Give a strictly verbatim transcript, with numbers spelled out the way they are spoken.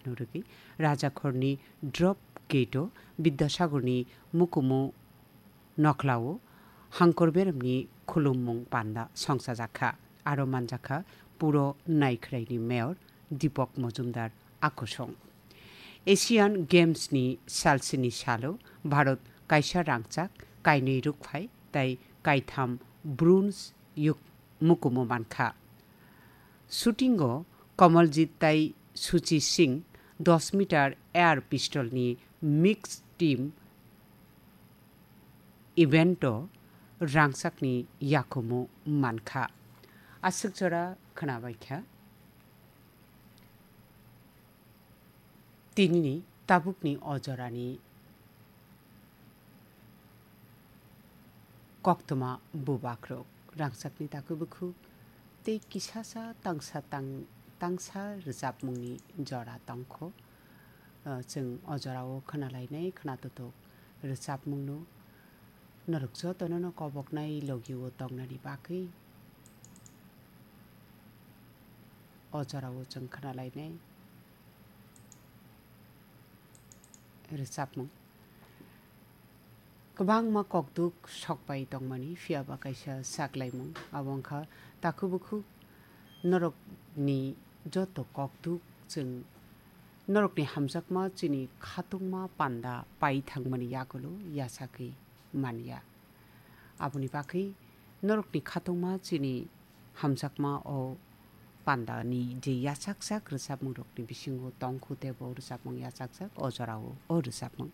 Norwgwi Rajakhorni Drop Gate-o Bidyasagarni mukumu nokhlao hangkor beremni khulummung panda songchajakha. Aro manjakha puro Naikhraini mayor Deepak Majumdar akusung. Asian Games-ni salsini salo Bharat kaisa rangchak, kainwi rukphai tei kaitham bronze yuk-, mukumu mankha. Shooting-o Kamaljit tei Suchi Singh dos meter air pistol-ni mixed team event-o rangchakni yakumu mankha. Aswk jora khwnabaikha. Tinini tabukni o jorani koktwma bubakrok rangchakni takhuk bukhuk tei kisasa tangsa tang-, tangsa rwchapmungni jora tongkho. Ah, chwng o jorao khwnalainai khwnatutuk rwchapmungno norok jotono no koboknai logio tongnani bagwi o jorao chwng khwnalainai rwchapmung. Kwbangma kokduk sokpai tongmani, phiya ba kaisa saklaimung, abo wngkha takhuk bukhuk norokni joto kokduk chwng norokni hamjakma chini khatungma panda pai thangmani yagulo yachagwi manya. Aboni bagwi norokni khatungma chini hamjakma o pandani je yachakjak rwchapmungrokni bisingo tongkhu tei bo rwchapmung yachakjak o jorao o rwchapmung.